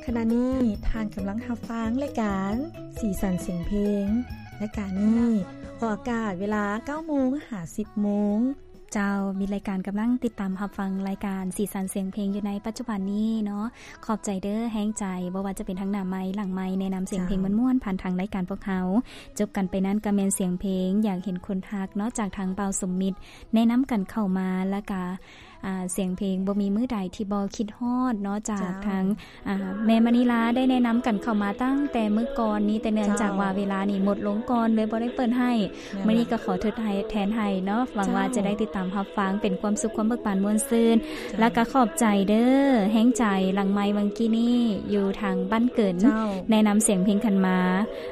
ຂະນະນີ້ທ່ານກຳລັງຮັບຟັງລາຍການສີສັນສຽງເພງ. ລາຍການນີ້ອອກອາກາດເວລາເກົ້າໂມງຫາສິບໂມງ. ເຈົ້າ, ມິດລາຍການກຳລັງຕິດຕາມຮັບຟັງລາຍການສີສັນສຽງເພງຢູ່ໃນປັດຈຸບັນນີ້ເນາະ. ຂອບໃຈເດີແຮງໃຈ, ບໍ່ວ່າຈະເປັນທາງໜ້າໄມ ຫຼັງໄມ ແນະນຳສຽງເພງ ເຈົ້າ ມ່ວນໆ ຜ່ານທາງລາຍການພວກເຮົາ. ຈົບກັນໄປນັ້ນກໍແມ່ນສຽງເພງຢາກເຫັນຄົນຮັກເນາະ ຈາກທາງບ່າວສົມມິດ ແນະນຳກັນເຂົ້າມາ ແລ້ວກະ ອ່າ ສຽງເພງບໍ່ມີມື້ໃດທີ່ບໍ່ຄິດຮອດເນາະ ຈາກ ເຈົ້າ ທາງ ອ່າ ແມ່ມະນີລາໄດ້ແນະນຳກັນເຂົ້າມາຕັ້ງແຕ່ມື້ກ່ອນນີ້ ແຕ່ເນື່ອງຈາກວ່າ ເຈົ້າ ເວລານີ້ໝົດລົງກ່ອນ ເລີຍບໍ່ໄດ້ເປີດໃຫ້. ແມ່ນລະ ມື້ນີ້ກໍຂໍທົດແທນໃຫ້ເນາະ ຫວັງວ່າ ເຈົ້າ ຈະໄດ້ຕິດຕາມຮັບຟັງ ເປັນຄວາມສຸກຄວາມເບີກບານມ່ວນຊື່ນ. ເຈົ້າ ແລ້ວກໍຂອບໃຈເດີແຮງໃຈ ຫຼັງໄມເມື່ອກີ້ນີ້ຢູ່ທາງບ້ານເກີນ ເຈົ້າ ແນະນຳສຽງເພງກັນມາ.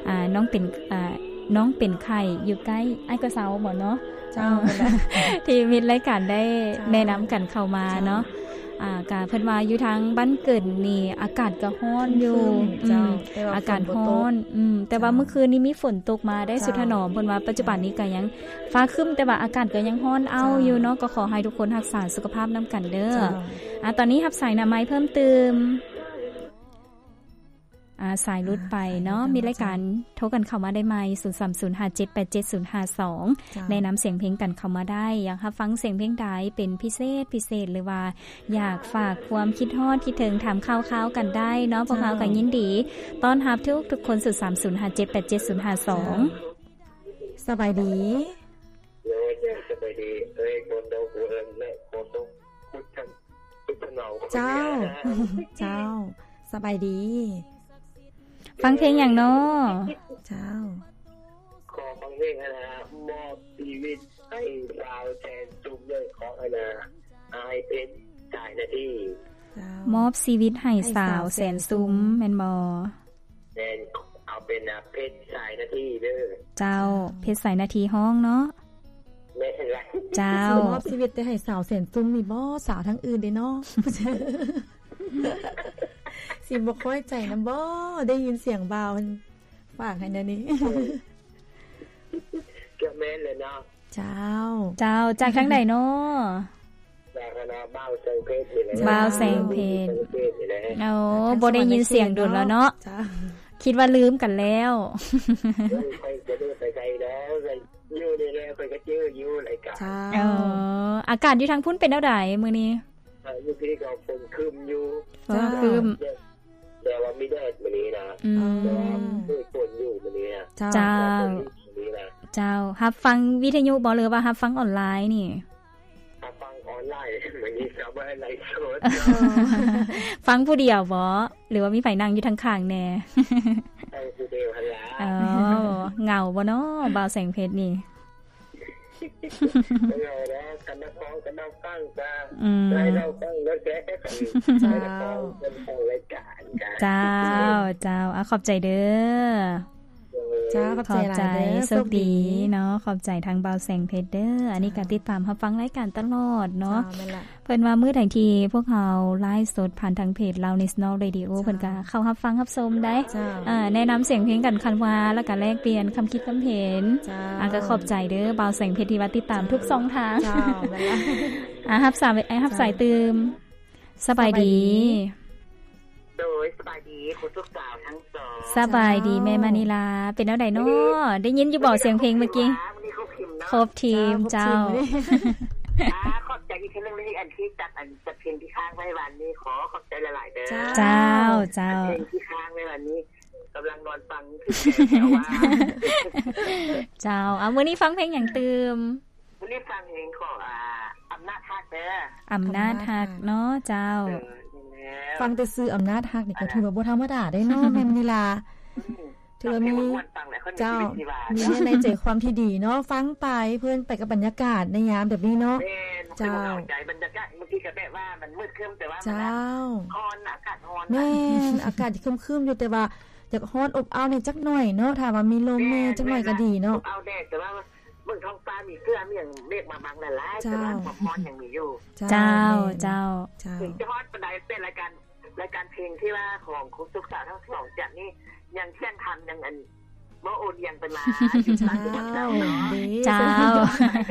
ອ່າ ນ້ອງເປັນ ອ່າ ນ້ອງເປັນໄຂ້ຢູ່ໃກ້ອ້າຍກໍເຊົາບໍ່ເນາະ? ເຈົ້າ ທີ່ມິດລາຍການໄດ້ ເຈົ້າ ແນະນຳກັນເຂົ້າມາເນາະ. ເຈົ້າ ອ່າ ກະເພິ່ນວ່າຢູ່ທາງບ້ານເກີນນີ້ອາກາດກໍຮ້ອນຢູ່. ຄຶ້ມໆ ເຈົ້າ ອືມ ແຕ່ວ່າ ອາກາດຮ້ອນ ຝົນບໍ່ຕົກ. ອືມ ແຕ່ວ່າ ເຈົ້າ ເມື່ອຄືນນີ້ມີຝົນຕົກມາໄດ້ ເຈົ້າ ສຸດຖະໜອມ. ເພິ່ນວ່າປັດຈຸບັນນີ້ກໍຍັງຟ້າຄຶ້ມ ແຕ່ວ່າອາກາດກໍຍັງຮ້ອນອ້າວ ເຈົ້າ ຢູ່ເນາະ. ກໍຂໍໃຫ້ທຸກຄົນຮັກສາສຸຂະພາບນຳກັນເດີ. ເຈົ້າ ອ່າ ຕອນນີ້ຮັບສາຍໜ້າໄມເພີ່ມຕື່ມ. ອ່າ ສາຍຫຼຸດໄປເນາະ. ອ່າ ມີລາຍການ ເຈົ້າ ໂທກັນເຂົ້າມາໄດ້ໃໝ່ ສູນສາມສູນຫ້າເຈັດແປດເຈັດສູນຫ້າສອງ. ເຈົ້າ ແນະນຳສຽງເພງກັນເຂົ້າມາໄດ້. ຢາກຮັບຟັງສຽງເພງໃດເປັນພິເສດ ພິເສດ ຫຼືວ່າຢາກຝາກຄວາມຄິດຮອດຄິດເຖິງ ຖາມຂ່າວຄາວກັນໄດ້ເນາະ. ເຈົ້າ ພວກເຮົາກໍຍິນດີຕ້ອນຮັບທຸກໆຄົນ ສູນສາມສູນຫ້າເຈັດແປດເຈັດສູນຫ້າສອງ. ເຈົ້າ ສະບາຍດີ. ໂດຍ ສະບາຍດີ. ເອີຍ ຄົນດອກເອີນ ແລະ ໂຄສົກ ພຸດທະ ພຸດທະນອງ. ເຈົ້າ ເຈົ້າ ສະບາຍດີ. ຟັງເພງຫຍັງເນາະ? ເຈົ້າ ຂໍຟັງເພງອັນນ່າ ມອບຊີວິດໃຫ້ສາວແສນຊຸມ ເດີ ຂອງອັນນ່າ ອ້າຍເພັດ ສາຍນາທີ. ເຈົ້າ ມອບຊີວິດໃຫ້ສາວແສນຊຸມ ແມ່ນບໍ່? ແມ່ນ ເອົາເປັນ ອາ ເພັດ ສາຍນາທີເດີ. ເຈົ້າ ເຈົ້າ ເພັດ ສາຍນາທີ ຮ້ອງເນາະ. ແມ່ນລະ. ເຈົ້າ ຊິມອບຊີວິດໄປໃຫ້ສາວແສນຊຸມນີ້ບໍ່? ສາວທາງອື່ນເດ້ເນາະ. ຊິບໍ່ຄ່ອຍໃຈນຳບໍ່? ໄດ້ຍິນສຽງບ່າວເພິ່ນຝາກໃຫ້ແນວນີ້. ກໍແມ່ນແຫຼະເນາະ. ເຈົ້າ ເຈົ້າ ຈາກທາງໃດເນາະ? ຈາກຄະນະບ່າວແສງເພັດນີ້ແຫຼະ. ບ່າວແສງເພັດ ແສງເພັດນີ້ແຫຼະ. ໂອ້ ບໍ່ໄດ້ຍິນສຽງດົນແລ້ວເນາະ. ເຈົ້າ ຄິດວ່າລືມກັນແລ້ວ. ໂອ້ຍ ຂ້ອຍຈະລືມໄປໃສແລ້ວ ຢູ່ນີ້ແຫຼະ ຂ້ອຍກໍຈື່ຢູ່ລາຍການ. ເຈົ້າ ເອີ ອາກາດຢູ່ທາງພຸ້ນເປັນແນວໃດມື້ນີ້? ອ່າ ຢູ່ພີ້ກໍຝົນຄຶ້ມຢູ່. ເຈົ້າ ຝົນຄຶ້ມ ແຕ່ວ່າມີແດດມື້ນີ້ນະ. ອືມ ແຕ່ວ່າມີຝົນຢູ່ມື້ນີ້ນະ. ເຈົ້າ ເຈົ້າ ມື້ນີ້ນະ. ເຈົ້າ ຮັບຟັງວິທະຍຸບໍ່ ຫຼືວ່າຮັບຟັງອອນລາຍນີ້? ຮັບຟັງອອນລາຍ ມື້ນີ້ກໍບໍ່ໄດ້ໄລຟ໌ສົດ. ຟັງຜູ້ດຽວບໍ່ ຫຼືວ່າມີໃຜນັ່ງຢູ່ທາງຂ້າງແດ່? ຟັງຜູ້ດຽວຫັ້ນລະ. ອໍ ເຫງົາບໍ່ເນາະ ບ່າວແສງເພັດນີ້? ເຫງົາແລ້ວ ຄັນນັກຮ້ອງ ຄັນນັກຟັງກະ ອືມ ໃຫ້ເຮົາຟັງແລ້ວແດ່. ເຈົ້າ ໃຫ້ນັກຮ້ອງເພິ່ນຟັງລາຍການກະ. ເຈົ້າ ເຈົ້າ ອາ ຂອບໃຈເດີ. ເຈົ້າ ຂອບໃຈຫຼາຍເດີ ໂຊກດີເນາະ. ຂອບໃຈທາງບ່າວແສງເພັດເດີ. ອັນນີ້ກໍຕິດຕາມຮັບຟັງລາຍການຕະຫຼອດເນາະ. ເຈົ້າ ແມ່ນລະ. ເພິ່ນວ່າມື້ໃດທີ່ພວກເຮົາໄລຟ໌ສົດຜ່ານທາງເພຈ Loudness North Radio ເຈົ້າ ເພິ່ນກໍເຂົ້າຮັບຟັງຮັບຊົມໄດ້. ເຈົ້າ ເອີ ແນະນຳສຽງເພງກັນຄັນວ່າ ແລ້ວກໍແລກປ່ຽນຄຳຄິດຄຳເຫັນ. ເຈົ້າ ອາ ກໍຂອບໃຈເດີ ບ່າວແສງເພັດທີ່ວ່າຕິດຕາມທຸກຊ່ອງທາງ. ເຈົ້າ ແມ່ນລະ. ອາ ຮັບສາຍ ຮັບສາຍຕື່ມ. ສະບາຍດີ. ໂດຍ ສະບາຍດີ ຄູທຸກສາວທັງສອງ. ສະບາຍດີ ເຈົ້າ ແມ່ມະນີລາ ເປັນແນວໃດເນາະ? ເອີ ໄດ້ຍິນຢູ່ບໍ່ສຽງເພງມື້ກີ້? ມື້ນີ້ຄົບທີມເນາະ. ຄົບທີມ ເຈົ້າ ເຈົ້າ ຄົບທີມມື້ນີ້. ອາ ຂອບໃຈອີກເທື່ອໜຶ່ງເລີຍ ອັນທີ່ຈັດ ອັນຈັດເພງທີ່ຄ້າງໄວ້ວານນີ້ ຂໍຂອບໃຈຫຼາຍໆເດີ. ເຈົ້າ ເຈົ້າ ເພງທີ່ຄ້າງໄວ້ວານນີ້ ກຳລັງນອນຟັງ ເຈົ້າ ເອົາ ມື້ນີ້ຟັງເພງຫຍັງຕື່ມ? ມື້ນີ້ຟັງເພງຂອງ ອາ ອຳນາດຮັກເດີ. ອຳນາດຮັກເນາະ. ເຈົ້າ ເອີ ແມ່ນແລ້ວ. ຟັງແຕ່ຊື່ອຳນາດຮັກນີ້ກໍຖືວ່າບໍ່ທຳມະດາເດ້ເນາະ ແມ່ມະນີລາ. ອືມ ຖືວ່າມີ ເຈົ້າ ມີເນື້ອໃນໃຈຄວາມທີ່ດີເນາະ. ຟັງໄປເພີນໄປກັບບັນຍາກາດໃນຍາມແບບນີ້ເນາະ. ແມ່ນ ເຈົ້າ ໃຈບັນຍາກາດ ບາງທີກໍແບບວ່າມັນມືດຄຶ້ມ ແຕ່ວ່າມັນ ເຈົ້າ ຮ້ອນ ອາກາດຮ້ອນ. ແມ່ນ ອາກາດຄຶ້ມໆຢູ່ ແຕ່ວ່າຢາກຮ້ອນອົບອ້າວແດ່ຈັກໜ້ອຍເນາະ. ຖ້າວ່າມີລົມແດ່ ແມ່ນ ຈັກໜ້ອຍກໍດີເນາະ. ແມ່ນ ອົບອ້າວແດ່ ແຕ່ວ່າ ເບິ່ງທ້ອງຟ້າມີເສື້ອມີຫຍັງ ເມກບາງໆຫຼາຍໆ ເຈົ້າ ແຕ່ວ່າຄວາມຮ້ອນຍັງມີຢູ່. ເຈົ້າ ເຈົ້າ ເຈົ້າ ເຈົ້າ ເຈົ້າ ເຖິງຈະຮ້ອນປານໃດ ແຕ່ລາຍການ ລາຍການເພງທີ່ວ່າຂອງຄູສຸກສາວທັງສອງຈັດນີ້ ຍັງຂຽນທັນ ຍັງອັນບໍ່ໂອນອຽງໄປມາ ຢູ່ຕາມທີ່ເຈົ້າເນາະ. ເຈົ້າ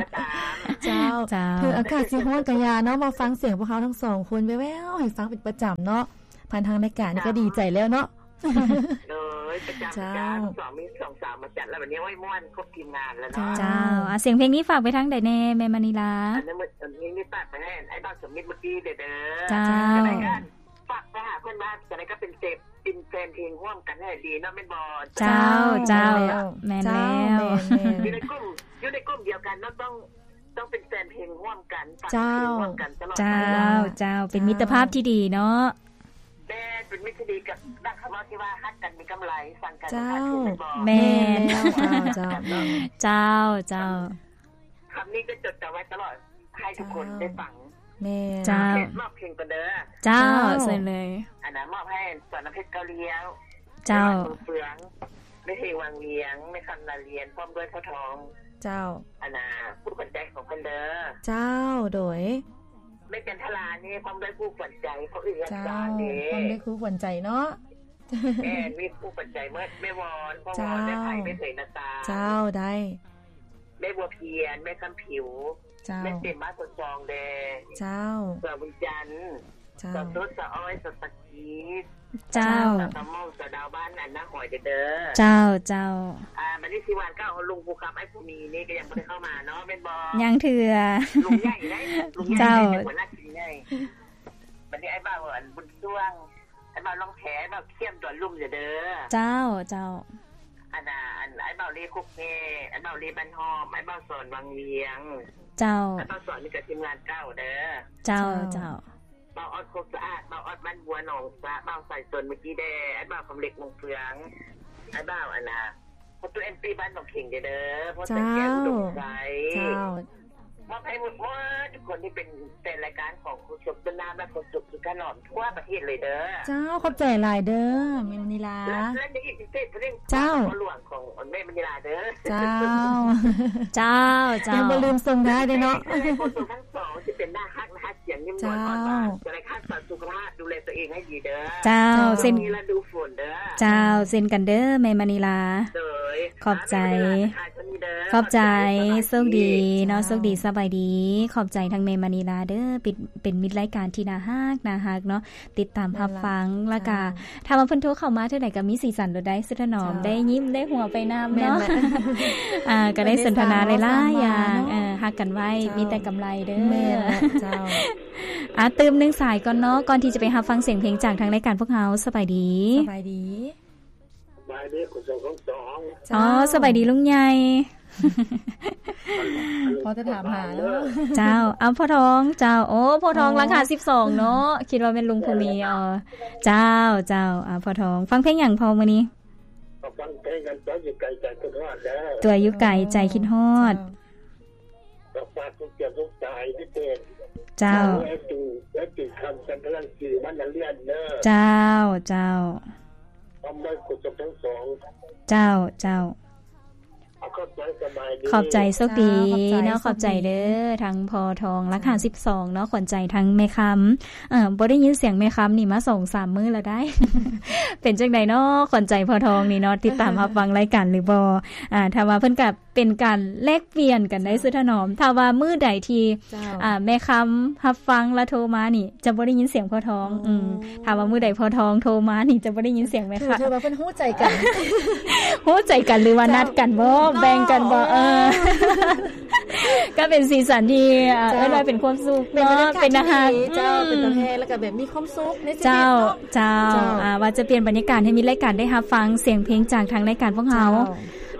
ເຈົ້າ ເຈົ້າ ເຖິງອາກາດຊິຮ້ອນກະຢ່າເນາະ ມາຟັງສຽງພວກເຮົາທັງສອງຄົນແວ່ວໆໃຫ້ຟັງເປັນປະຈຳເນາະ. ຜ່ານທາງລາຍການນີ້ກໍດີໃຈແລ້ວເນາະ. ໂດຍ ປະຈຳ ເຈົ້າ ປະຈຳ ສອງມີສອງສາວມາຈັດແລ້ວ ບັດນີ້ ໂອ້ຍ ມ່ວນຄົບທີມງານແລ້ວເນາະ. ເຈົ້າ ເຈົ້າ ອາ ສຽງເພງນີ້ຝາກໄປທາງໃດແດ່ ແມ່ມະນີລາ? ອັນນີ້ ອັນນີ້ຝາກໄປໃຫ້ອ້າຍບ່າວສົມມິດເມື່ອກີ້ເດີ. ເຈົ້າ ຈັ່ງໃດກໍຝາກໄປຫາເພິ່ນວ່າ ຈັ່ງໃດກໍເປັນເສບ ເປັນແຟນເພງຮ່ວມກັນໃຫ້ດີເນາະ ແມ່ນບໍ່? ເຈົ້າ ເຈົ້າ ແມ່ນແລ້ວ ແມ່ນແລ້ວ ເຈົ້າ ແມ່ນໆ ຢູ່ໃນກຸ່ມ ຢູ່ໃນກຸ່ມດຽວກັນເນາະ ຕ້ອງ ຕ້ອງເປັນແຟນເພງຮ່ວມກັນ ຟັງເພງ ເຈົ້າ ຮ່ວມກັນຕະຫຼອດ ເຈົ້າ ໄປເນາະ ເຈົ້າ ເປັນມິດຕະພາບທີ່ດີເນາະ. ແມ່ນ ເປັນມິດທີ່ດີກັບນັກຄຳເວົ້າທີ່ວ່າ ຮັກກັນມີກຳໄລ ຊັງກັນ ເຈົ້າ ຂາດທຶນ ແມ່ນບໍ່? ແມ່ນ ແມ່ນແລ້ວ ເຈົ້າ ເຈົ້າ ເຈົ້າ ເຈົ້າ ເຈົ້າ ຄຳນີ້ຈະຈົດຈຳໄວ້ຕະຫຼອດ ໃຫ້ທຸກຄົນ ເຈົ້າ ໄດ້ຟັງ. ແມ່ນ ເຈົ້າ ເພງ ມອບເພງກ່ອນເດີ. ເຈົ້າ ເຈົ້າ ເຊີນເລີຍ. ອັນນັ້ນມອບໃຫ້ສອນນ້ຳເພັດ ເກົ້າລ້ຽວ ເຈົ້າ ເມືອງເຟືອງ ແມ່ເພງວັງວຽງ ແມ່ຄຳນາລຽນ ພ້ອມດ້ວຍພໍ່ທອງ ເຈົ້າ ອັນນ່າ ຄູ່ຂວັນໃຈຂອງເພິ່ນເດີ. ເຈົ້າ ໂດຍ ແມ່ຈັນທະລານີ້ ພ້ອມດ້ວຍຄູ່ຂວັນໃຈ ເຂົາເອີ້ນ ເຈົ້າ ຫຍັງຊາເດ້ ພ້ອມດ້ວຍຄູ່ຂວັນໃຈເນາະ. ແມ່ນ ມີຄູ່ຂວັນໃຈໝົດ ແມ່ວອນ ພໍ່ວອນ ເຈົ້າ ແມ່ໄພ ແມ່ເຜີຍ ນາຕາ ເຈົ້າ ໄດ້ ແມ່ບົວພຽນ ແມ່ຄຳຜິວ ເຈົ້າ ແມ່ເຕັມ ບ້ານໂພນຊອງແດ່ ເຈົ້າ ສາວບຸນຈັນ ເຈົ້າ ສາວໂຕດ ສາວອ້ອຍ ສາວສັກກີ ເຈົ້າ ສາວຕາມອງ ສາວດາວ ບ້ານອັນນາຫອຍເດີ. ເຈົ້າ ເຈົ້າ ອ່າ ບັດນີ້ຊິຫວານເກົ້າ ເຮົາລຸງພູຄຳ ອ້າຍພູມີນີ້ກໍຍັງບໍ່ໄດ້ເຂົ້າມາເນາະ ແມ່ນບໍ່? ຍັງເທື່ອ ລຸງໃຫຍ່ເດ້ ລຸງໃຫຍ່ ເຈົ້າ ເດ້ ຫົວໜ້າທີມໃຫຍ່. ບັດນີ້ອ້າຍບ່າວ ອັນ ບຸນຊ່ວງ ອ້າຍບ່າວລ່ອງແພ ອ້າຍບ່າວຂ້ຽມດອນລຸ່ມເດີ. ເຈົ້າ ເຈົ້າ ອັນນ່າ ອັນ ອ້າຍບ່າວເລໂຄກແກ້ ອ້າຍບ່າວເລບ້ານຫ້ອມ ອ້າຍບ່າວສອນວັງວຽງ ເຈົ້າ ອ້າຍບ່າວສອນນີ້ກໍທີມງານເກົ່າເດີ. ເຈົ້າ ເຈົ້າ ເຈົ້າ ບ່າວອອດໂຄກສະອາດ ບ່າວອອດບ້ານບົວໜອງສະ ບ່າວສາຍຊົນເມື່ອກີ້ແດ່ ອ້າຍບ່າວຄຳເລັກວົງເຟືອງ ອ້າຍບ່າວ ອັນນ່າ ພໍ່ຕູ້ແອນຕີບ້ານໜອງເຂັງເດີ ພໍ່ແສງແກ້ວ ອຸດົມໄຊ ເຈົ້າ ເຈົ້າ ມອບໃຫ້ໝົດ ໝົດທຸກຄົນທີ່ເປັນແຟນລາຍການຂອງໂຄສົກຕົ້ນນ້ຳ ແລະ ໂຄສົກສຸດຖະໜອມທົ່ວປະເທດເລີຍເດີ. ເຈົ້າ ຂອບໃຈຫຼາຍເດີ ແມ່ມະນີລາ ແລະ ແລະ ມີອີກພິເສດຜູ້ໜຶ່ງ ເຈົ້າ ພໍ່ຫຼວງຂອງແມ່ມະນີລາເດີ. ເຈົ້າ ເຈົ້າ ເຈົ້າ ຍັງບໍ່ລືມສົ່ງທ້າຍເດີເນາະ ເອີຍ ຜູ້ຊົງທັງສອງຊິເປັນໜ້າຮັກ ນະຮັດສຽງຍິ້ມໝວນ ເຈົ້າ ອ່ອນຫວານ ຈະໄດ້ຮັກສາສຸຂະພາບ ດູແລຕົວເອງໃຫ້ດີເດີ. ເຈົ້າ ເຈົ້າ ເຊັ່ນ ມີລະດູຝົນເດີ. ເຈົ້າ ເຊັ່ນກັນເດີ ແມ່ມະນີລາ. ໂດຍ ຂອບໃຈ ອ່າ ມີເວລາທັກທາຍເທົ່ານີ້ເດີ. ຂອບໃຈ ຂອບໃຈ ໂຊກດີເນາະ ເຈົ້າ ໂຊກດີ ສະບາຍດີ. ຂອບໃຈທັງແມ່ມະນີລາເດີ ເປັນ ເປັນມິດລາຍການທີ່ໜ້າຮັກ ໜ້າຮັກເນາະ ຕິດຕາມຮັບຟັງ ແມ່ນລະ ແລ້ວກະ ເຈົ້າ ຖ້າວ່າເພິ່ນໂທເຂົ້າມາເທື່ອໃດກໍມີສີສັນໂລດໄດ໋ ສຸດຖະໜອມ ເຈົ້າ ໄດ້ຍິ້ມໄດ້ຫົວໄປນຳເນາະ ແມ່ນລະ ອ່າ ກໍໄດ້ສົນທະນາຫຼາຍໆຢ່າງ ເອີ ຮັກກັນໄວ້ ເຈົ້າ ມີແຕ່ກຳໄລເດີ. ແມ່ນລະ ເຈົ້າ ອ່າ ຕື່ມໜຶ່ງສາຍກ່ອນເນາະ ກ່ອນທີ່ຈະໄປຮັບຟັງສຽງເພງຈາກທາງລາຍການພວກເຮົາ. ສະບາຍດີ ສະບາຍດີ ສະບາຍດີ ຄຸນສົງທັງສອງ. ເຈົ້າ ອໍ ສະບາຍດີລຸງໃຫຍ່. ພໍຈະຖາມຫາເນາະ. ເຈົ້າ ເອົາ ພໍ່ທອງ ເຈົ້າ ໂອ້ ພໍ່ທອງ ອໍ ຫຼັກຫ້າສິບສອງເນາະ ຄິດວ່າແມ່ນລຸງພູມີ. ເອີ ເຈົ້າ ເຈົ້າ ອ່າ ພໍ່ທອງ ຟັງເພງຫຍັງພໍ່ມື້ນີ້? ກໍຟັງເພງອັນຕົວຢູ່ໄກໃຈຄິດຮອດເດີ ຕົວຢູ່ໄກໃຈຄິດຮອດ. ອໍ ເຈົ້າ ກໍຝາກທຸກເຈົ້າທຸກສາຍພິເສດ ເຈົ້າ ເຈົ້າ ໃຫ້ເປັນ ໃຫ້ເປັນຄຳຈັນທະລັງສີມານະລຽນເດີ. ເຈົ້າ ເຈົ້າ ຄວາມໄດ້ຄຸນສົງທັງສອງ. ເຈົ້າ ເຈົ້າ ຂອບໃຈ ສະບາຍດີ ຂອບໃຈ ໂຊກດີເນາະ. ເຈົ້າ ຂອບໃຈ ຂອບໃຈ ໂຊກດີເດີ ທັງພໍ່ທອງ ຫຼັກຫ້າສິບສອງເນາະ ຂວັນໃຈທັງແມ່ຄຳ. ເອີ ບໍ່ໄດ້ຍິນສຽງແມ່ຄຳນີ້ມາສອງສາມມື້ແລ້ວໄດ໋. ເປັນຈັ່ງໃດເນາະ ຂວັນໃຈພໍ່ທອງນີ້ເນາະ ຕິດຕາມຮັບຟັງລາຍການຫຼືບໍ່? ອ່າ ຖ້າວ່າເພິ່ນກໍເປັນການແລກປ່ຽນກັນໄດ້ ເຈົ້າ ສຸດຖະໜອມ. ຖ້າວ່າມື້ໃດທີ່ ເຈົ້າ ອ່າ ແມ່ຄຳຮັບຟັງແລ້ວໂທມານີ້ ຈະບໍ່ໄດ້ຍິນສຽງພໍ່ທອງ. ອໍ ອືມ ຖ້າວ່າມື້ໃດພໍ່ທອງໂທມານີ້ ຈະບໍ່ໄດ້ຍິນສຽງແມ່ຄຳ. ຖື ຖືວ່າເພິ່ນຮູ້ໃຈກັນ ຮູ້ໃຈກັນ ຫຼືວ່າ ເຈົ້າ ນັດກັນບໍ່ ເນາະ ແບ່ງກັນບໍ່? ເອີ ເອີ ກໍເປັນສີສັນທີ່ ເຈົ້າ ເອີ້ນວ່າເປັນຄວາມສຸກເນາະ ເປັນບັນຍາກາດ ເປັນຕາຮັກ ທີ່ດີ ເຈົ້າ ອືມ ເປັນຕົວແທນ ແລ້ວກໍແບບມີຄວາມສຸກໃນຊີວິດ ເຈົ້າ ເນາະ. ເຈົ້າ ເຈົ້າ ອ່າ ວ່າຈະປ່ຽນບັນຍາກາດໃຫ້ມີລາຍການໄດ້ຮັບຟັງສຽງເພງຈາກທາງລາຍການພວກເຮົາ. ເຈົ້າ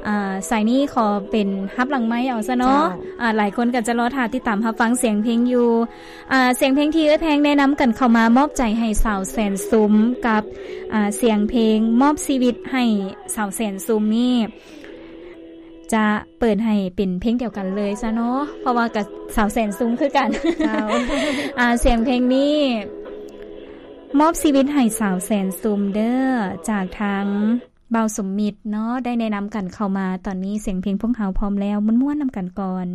ອ່າ ສາຍນີ້ຂໍເປັນຮັບຫຼັງໄມເອົາຊະເນາະ. ເຈົ້າ ອ່າ ຫຼາຍຄົນກໍຈະລໍຖ້າຕິດຕາມຮັບຟັງສຽງເພງຢູ່. ອ່າ ສຽງເພງທີ່ເອື້ອຍແພງແນະນຳກັນເຂົ້າມາມອບໃຈໃຫ້ສາວແສນຊຸມ ກັບ ອ່າ ສຽງເພງມອບຊີວິດໃຫ້ສາວແສນຊຸມນີ້ ຈະເປີດໃຫ້ເປັນເພງດຽວກັນເລີຍຊະເນາະ ເພາະວ່າກໍສາວແສນຊຸມຄືກັນ. ເຈົ້າ ອ່າ ສຽງເພງນີ້ ມອບຊີວິດໃຫ້ສາວແສນຊຸມເດີ ຈາກທາງ ບ່າວສົມມິດເນາະ ໄດ້ແນະນຳກັນເຂົ້າມາ. ຕອນນີ້ສຽງເພງພວກເຮົາພ້ອມແລ້ວ ມ່ວນໆນຳກັນກ່ອນ.